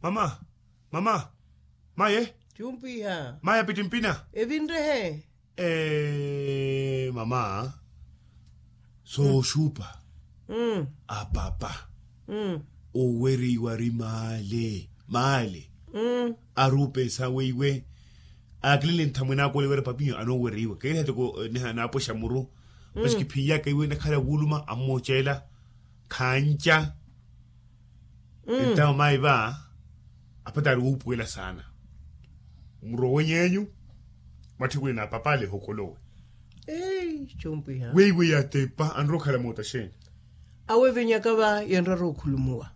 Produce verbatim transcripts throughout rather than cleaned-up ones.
Mama, mama, maye. Chumpwiha. Maye apittimpina. Evinrehe. Eee mama, sooxupa, apapa, owereiwa ari maale maale. Ari opensa weiwe akilele nthamwene akoole wira papiyo anoowereiwa keeriha toko. Naapwexa muru, masi kiphiiyaka iwe nakhala wuuluma ammooceela. Khanca. Entawo mayi va, apata ari wuupuwela saana. Murowe ny'enyu, mwatthikule na apapale ehokolowe. Weiwe yatepa anrowa okhala moota xeeni? Awevenyaka va yenrara okhulumuwa.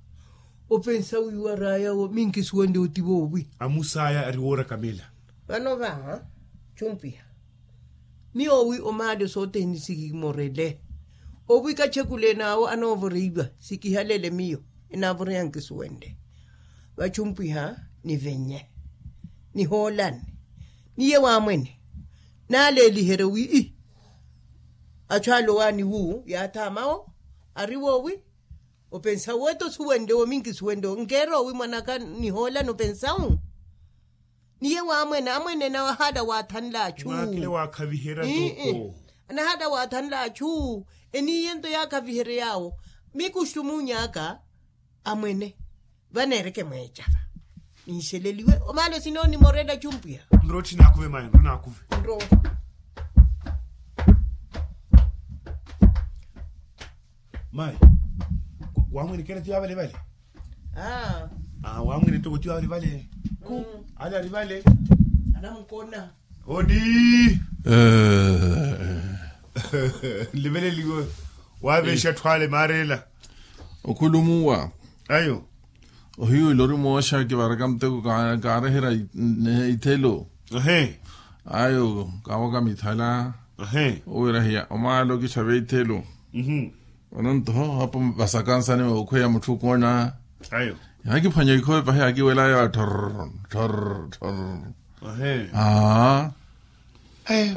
Opensa wiiwa ari ayawo minkisuwende oti voowi? Amusaya ari woorakamela. Vano va, chumpiha. Miyo wi omaale sothene sikimorele. Owi kachekule n'awo anoovoreiwa. Sikihalele miyo enaavoreya nkisuwende. Vachumpwiha nivenye, nihoolane, niye waamwene. Naaleeliherye wi ii, achu ale owaani wu yaathaamawo. Ari woowi? Opensa wu eti osuwenle wo minkisuwenle wo nkeera owi mwan'aka nihoolane opensa wu. Niye waamwene amwene nawe ahaala waathanle achu. Mwaakile waakhaviherya toko. Anahaala waathanle achu. Eniiye nto yaakhavihery'awo. Mikuxutu muuny'aka amwene. Vaneereke mweecava. Ninxeleliwe omaalo sinoonimorela chumpwiha. Nrowe tthi naakuve mayi nrowe naakuve. Nrowe. Mayi, waamwene keera tiyo avalevale. Aaa. Waamwene toko tiyo avalevale. Ku ale arivale. Anamukona. Odi. Nliveleliwe. Waaveexa atthu ale maareela. Okhulumuwa. Ayo. Ohiyu ila ori mooxa kivaraka muteko kaareherya. Ithelo. Ayo kaawaka mithala. Owira hiya omaalo kitthaveya ithelo. Vano nto apo vasakansani mookhweya mutthu okoona. Yaakiphwanya ikhowe pahi yaakiwelaya thorr thorr thorr. Aaa.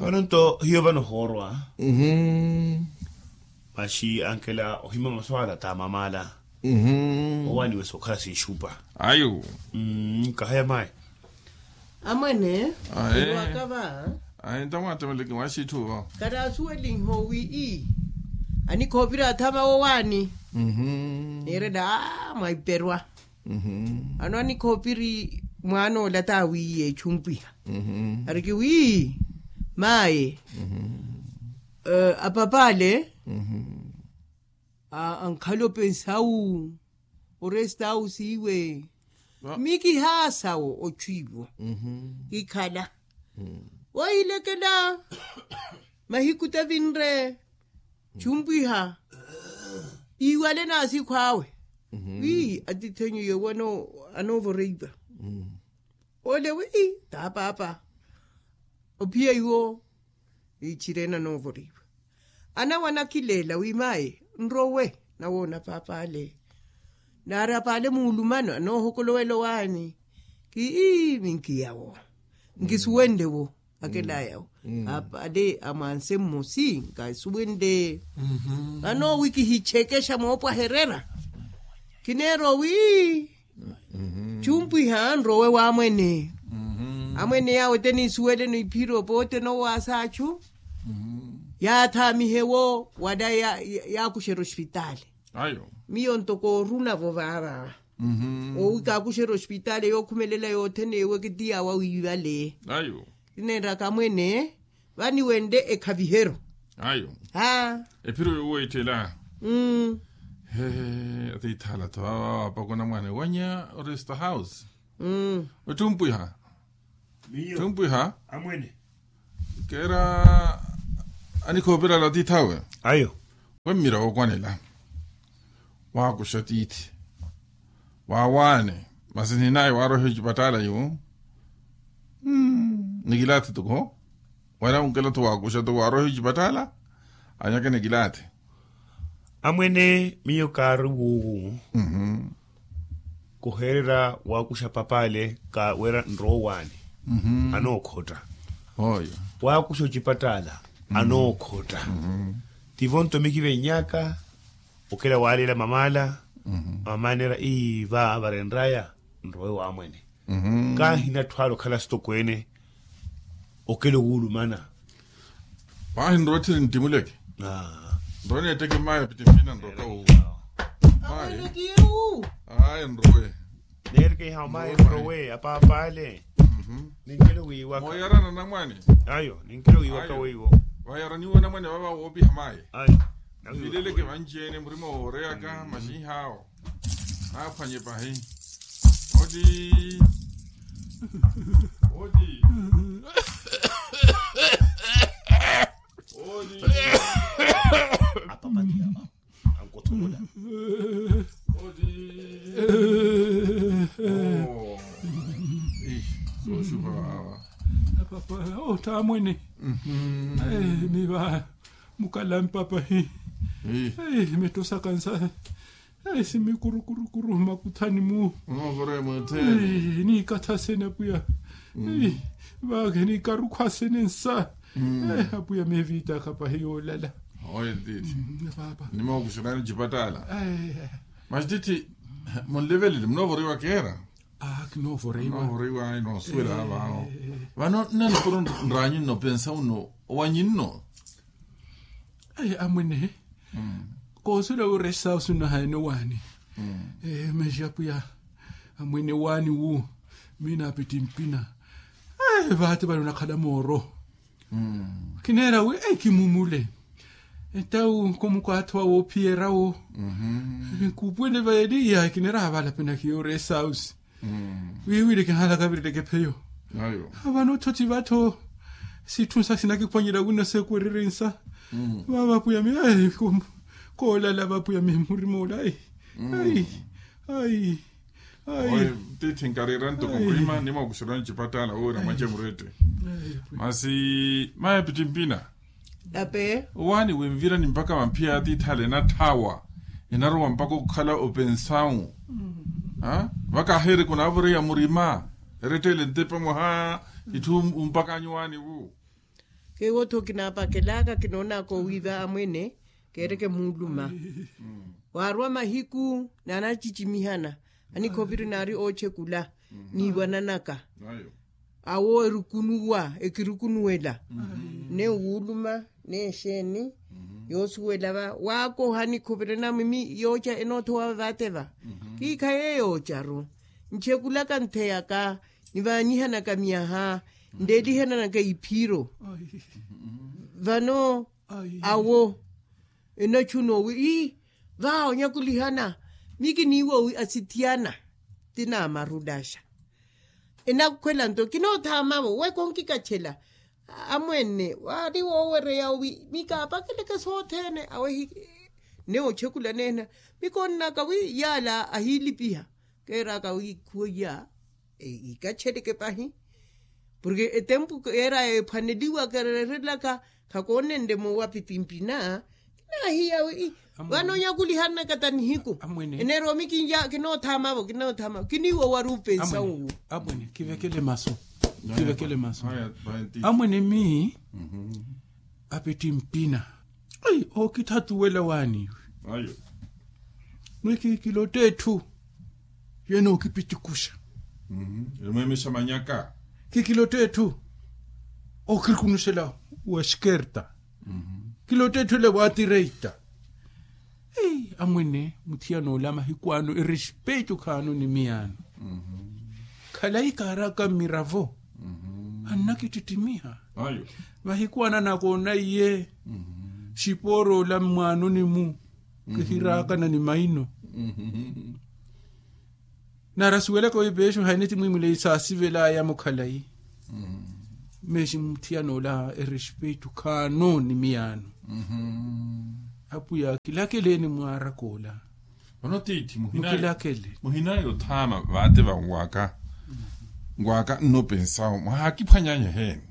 Vano nto hiyo vano hoorwa. Masi ankela ohima maswala t'amamala. Owaaniwe sookhala sinxupa. Ayo. Kahaya mayi. Amwene. Aye. Iwaka va. Aye ntamwatemeleke mwaxitthu va. Kataasuwelinhe owi ii, anikhoopiri athama wowaani. Neerela aa mwaiperwa. Ano anikhoopiri mwaan'ola t'awiiye echumpwiha. Ariki wi maye, apapale, ankhala opensa wu oresta wu siiwe. Mikihaasa wo otthu iwo. Kikhala wohilekela. Mahiku tavinre. Chumpwiha iiwale n'asikhu awe. Wi atith'enyu yowo anoovoreiwa. Ole wi tapaapa. Ophiya iwo. Ichirena noovoriwa. Anawe anakileela wi mayi nrowe nawoona paap'ale. Naari ap'ale muulumano anoohokolowela owaani. Kii minkiyawo nkisuwenle wo. Akelaya wo. Ap'ale amwanse mmosi nkasuwenle. Vano wi kihichekexa moopwaherera. Kineera owi chumpwiha nrowe w'amwene. Amwene yaawo ete niisuweleno iphiro poote nowaasa achu. Yaathaamihe wo wala yaakuxerya ospitaali. Miyo ntoko oruna-vo vaava. Owi kaakuxerya ospitaali yookhumelela yothene ewe kitiyawa wiivale. Kineenraka amwene vaniwenle ekhaviheryo. Ayo. Ephiro yoweettela. Hee atiithaala-tho awa aapakona mwaana ewanya oresta house. Ottumpwiha. Miyo. Ottumpwiha. Amwene. Keera anikhoopirala atiith'awe. Ayo. Wemmira wookwanela waakuxa tiithi. Waawaane masi ninaye waarohiwa ecipattaala iwo. Nikilaathi toko wala onkela-tho waakuxa toko waarohiwa ecipattaala. Anyaka nikilaathi. Amwene miyo kaari wuuwu. Kuheererya waakuxa papaale ka wira nrowaani. Anookhotta. Waakuxa ocipattaala anookhotta. Tivo nto mikivennyaka okela waaleela mamaala. Amaanera ii va varenraya nrowe wamwene. Kaahina atthu ale okhala stokweene okelo wuulumana. Paahi nrowe tthiri nttimuleke. Nrowe neetteke mmayi apittimpina nrowe kawu. Mmayi. Ayi nrowe. Neerikeiha mmayi nrowe apaapale. Ninkelo wiiwaka. Mooyarana namwane. Ayo ninkelo wiiwaka weiwo. Vayaraniwe namwane vava woopiha mmayi. Ayo. Vileleke vanci-ene murima wooreyaka maxinhaawo. Naaphwanye pahi. Oti. Oti. Oti. Apapatiya. Ankotholola. Oti. Sooxupa awa. Apapa otamwene. Miva mukalampa pahi. Mitosaka nsa. Simi kurukurukuru mmakuthani-mu. Niikatha sene apwiya. Vaakhe niikarukhwa sene nsa. Apwiya meeviitaka pahi yoolala. Oye ttiithi. Nimookuxerani ocipattaala. Masi ttiithi, munlevelele munoovoreiwa keera. Kinoovoreiwa noosuwela vaavo. Vano nnanukuru nraanyu nno pensa uno owanyu nno. Amwene. Koosuwela wi oresta osunahaene owaani. Masi apwiya amwene owaani wu. Miina apittimpina. Vaati vale onakhala mooro. Kineera wi kimumule. Entawu nkomukwatho wa woophiyerya-wo. Kuupwene vayeliya kineera vale apenakhiye oresta osi. Wiiwile kihaala kavirireke pheyo. Vano othothi vatho sitthu nsa sinakiphwanyela wino seekwererye nsa. Vava apwiya mi koolala vapwiya mi murima ola. Ayi. Ayi. Oye ttiithi nkariira ntoko murima nimookuxerani ocipattaala woowira mwace murette. Masi mayi apittimpina. Ape. Owaani winvirani mpakha vamphiya ya tiithale enatthaawa. Enarowa mpakha okhala opensawu. Vakaaheereke onaavoreiwa murima. Eretteele ntepa mwaha itthu umpakhanyu owaani wu. Keewo-tho kinaapakelaka kinoonaka owiiva amwene. Keereke muuluma. Waarwa mahiku naanacicimihana. Anikhopiri naari oochekula. Niiwananaka. Awo erukunuwa ekirukunuwela. Ne wuuluma ne exeeni. Yoosuwela va waakoha nikhoperena mimi yooca enoothowa vaate va. Kiikha yeeyoocaru nchekulaka ntheyaka nivaanyihanaka myaha nleelihananaka iphiro. Vano awo enachuna owi ii vaha onyakulihana. Mi kiniiwa owi asithiyana ti naamarulaxa. Enakhwela nto kinoothaamavo weka onkikachela. Amwene waari woowereya owi mi kaapakeleke sothene awehi. Ne ochekulana ehina mi koonnaka wi yaala ahiilipiha. Keeraka wi khuweiya ikacheleke pahi. Porke etempu keeraya ephwaneliwa keererelaka khakoonenle moowa pitimpina. Kinaahiya wi vano onyakulihanaka ta nihiku. Eneromi kinoothama vo kinoothama vo kiniiwa owari upensa uwu. Amwene kivekele masu. Kivekele masu. Amwene mi apiti mpina. Ai ookithathuwela waani iwe. Ayo. Mwi kikilotta etthu yenookipitikuxa. Erimweemesha manyaka. Kikilotta etthu ookirikunuxela wa xikerta. Kilotta etthu ele waatireita. Amwene muthiyanola mahiku ano erespetu khaano ni miyaano. Khalayi kaaraka mmiravo annakittittimiha. Mahiku ano anakoona iye xipooroola mmwaanoni-mu kihiraakana ni maino. Nari asuwelaka wi peexu haini ti mwiimwileyi saasivelaya mukhalayi. Meexi muthiyana ola erespetu khaano ni miyaano. Apwiya kilakeleeni mwaaraka ola. Vano tiithi muhinaye othaama vaate vanwaka nwaaka nnopensawo mwahaakiphwanyanya eheeni.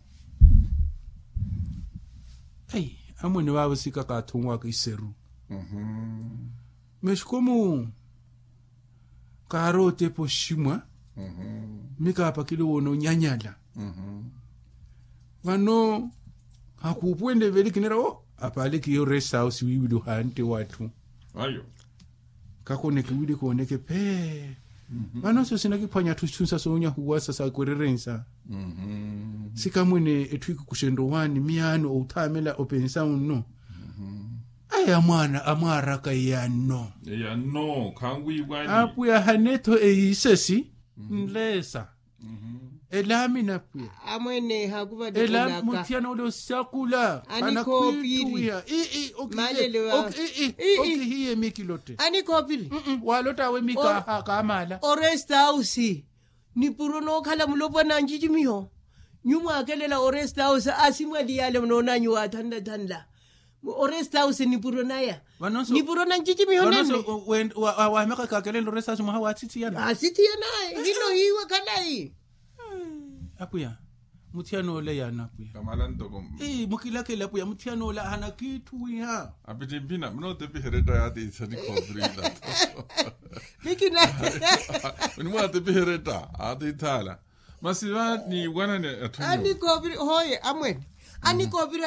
Amwene vaavo sikakaatho onwaka iseru. Mexikomu kaarootepa oximwa. Mikaapakile woona onyanyala. Vano hakuupuwene veli kinera o apaale kiyo resta house wiiwili ohaante w'atthu. Kakoneke wili kooneke phee. Vano sio sinakiphwanya atthu sithunsa soonyahuwasa sakwererensa. Sikamwene etthu ikikuxenrye owaani miyaano otthaamela opensa unno. Aya mwaana amwaaraka eyanno. Eyanno khanwiiwani. Apwiya hane-tho eyiisesi nleesa. Elaamina pwiya. Amwene haakuvale ela khulaka. Muthiyana ole osakula. Anikhoopiri. Anakhwiittuwiha ii. Okihiye mikilotte. Anikhoopiri. Waalottawe mika kaamaala. Orestausi nipuro nookhala mulopwana ncicimiho. Nyu mwaakelela orestausi asimwali yaale munoonanyu waathanlathanla. Orestausi nipuro naya. Nipuro na ncicimiho nene. Waameka kakelela orestausi mwaha waathithiyana. Aathithiyana. Hino hiiwe khalayi. Apwiya. Muthiyana ole yaana apwiya. Kamala ntoko. Mukilakele apwiya muthiyana ole hanakiitthuwiha. Apittimpina munootepiha eretta yaatiithani khoopirinla. Nikina. Munimwaatepiha eretta aatiithaala. Masi va niiwanani atthu anikhoopiri hooye amwene. Anikhoopiri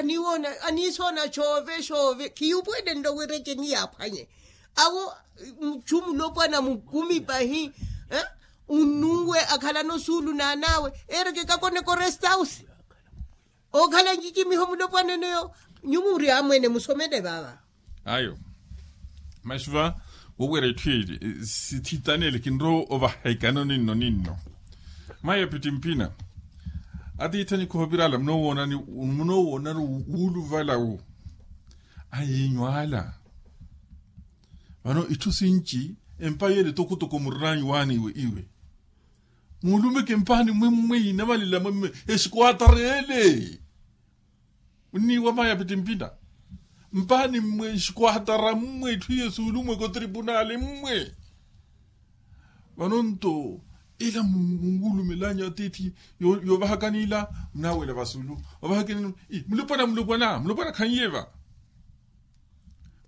aniisoona coove coove khiyupwelenlo wira eceni yaaphwanye. Awo muchu mulopwana mukumi pahi. Unnunwe akhalano suulu naan'awe. Eereke kakoneka orestausi. Okhala ncicimiho mulopwana eneyo. Nyu muri amwene musomele vava. Ayo. Masi va wowira itthu eli sithitani ele kinrowa ovaha ikano ninno ninno. Mayi apittimpina. Atiithani khoopirala munoowoonani wuuluvala wu. Ayiinyu ala. Vano itthu sinci empa yeele tokotoko murinaanyu waani iwe iwe. Muulumeke mpaani mmwe mmwe inamalela mmwe mmwe. Exikwaatareele. Munniiwa mayi apittimpina. Mpaani mmwe exikwaatara mmwe itthu iye suulumweke otripunaali mmwe. Vano nto ila munwulumel'anyu atiithi yoovahakani ila munaawela vasulu. Ovahakani. Mulopwana mulopwana khanyiye va.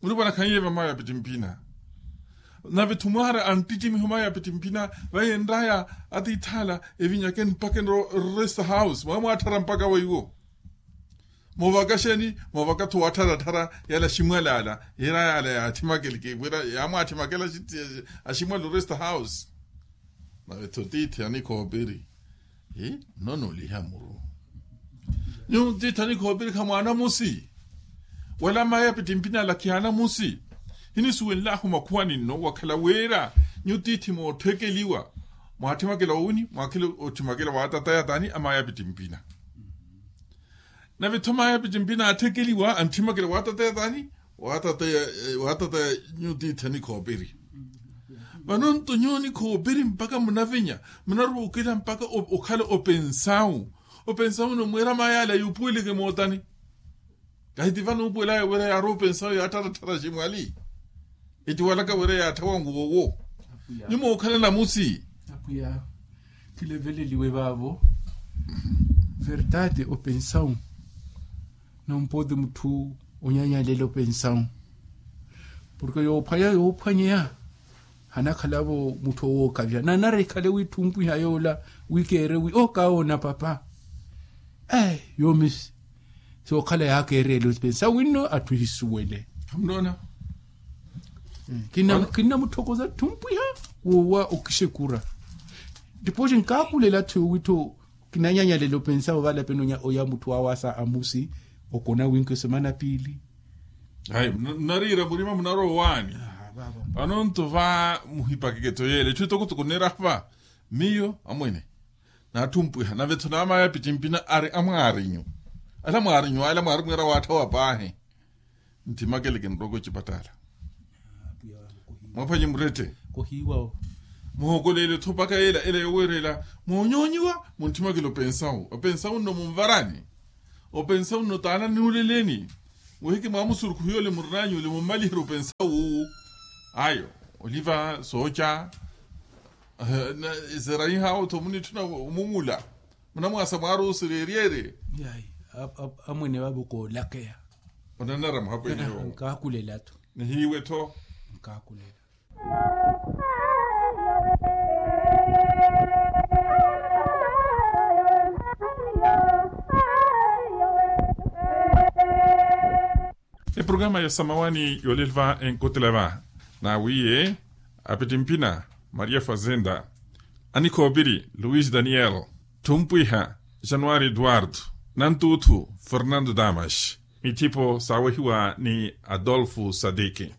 Mulupwana khanyiye va mayi apittimpina. Nave-tho mwaari anttittimiho mayi apittimpina. Vayi enraya atiithaala evinyakeni mpakha enro rest house mwaamwaatthara mpakha weiwo. Moovaka xeeni? Moovaka-tho waattharattharya yala aximwali ala. Yira yala yaathimakeleke wira yaamwaathimakela aximwali orest house. Nave-tho tiithi anikhoopiri. Nnono oliha muru. Nyuwo tiithi anikhoopiri khamwaanamusi. Wala mayi apittimpina alakhi anamusi. Hinisuwenlahu makhuwani nno wakhala wira nyuwo tiithi moothekeliwa. Mwaathimakela wowini mwaakhela otthimakela waatataya taani a mayi apittimpina. Nave-tho mayi apittimpina aathekeliwa anthimakela waatataya taani. Waatataya nyuwo tiithi anikhoopiri. Vano nto nyuwo nikhoopiri mpakha munavinya munaruukela mpakha okhala opensawu. Opensawu nno mwiira mayi ale ayupuweleke mootani. Kahi ti vano uupuwelaya wira yaarowa opensawu yaattharattharya aximwali. Etiwalaka wira yaatthawa nguwo owo. Nyuwo mookhala namusi. Apwiya khileveleliwe vaavo. Verdade opensawu. Nompoti mutthu onyanyalela opensawu. Porke yoophwanya yoophwanyeya hanakhalavo mutthu owookavya nanara ekhale wiitthumpiha yoola. Wikeere wi okawoona papa. Yoomi sookhala yaakeereyela opensawu winno atthu ehisuwele. Khamunoona. Kinnamutthokoza tthumpwiha woowa okixekura. Tipooxi nkaakulela atthu yoowittho kinanyanyalela opensa ovalapeni oya mutthu wawaasa amusi. Okona winki osemana piili. Ayi munariira murima munarowa owaani. Vano nto va muhipakeke tho yeela etthu etokotoko neeraha va. Miyo amwene naattumpwiha nave-tho naamayi apittimpina ari amwaarinyu. Ala mwaarinyu ala mwaari mwiira waatthawa paahi. Nthimakele kinroka ocipattala. Mwaphwanye murette. Muhookoleele-tho mpakha ela ela yoweerela moonyoonyiwa. Munthimakele opensawu opensawu nno munvarani. Opensawu nno taana nuuleleni. Muhiki mwaamusurukhu yole murinanyu ole mummaliherye opensawu. Ayo oliva sooca. Eseraihawo-tho munitthuna omumula. Munamwaasa mwaari osereeryerye. Amwene vavo koolakeya. Onanara muhapwene yowo. Nkaakulela-tho. Nihiiwe-tho. Nkaakulela. Eprograma ya samawani yoolelva enkotela va. Nawiye Apitimpina, maria fazenda. Anikhoopiri, luis daniel. Thumpwiha, januari eduardo. Nantuuthu, fernando damas. Mithipo saawehiwa ni adolfo sadiki.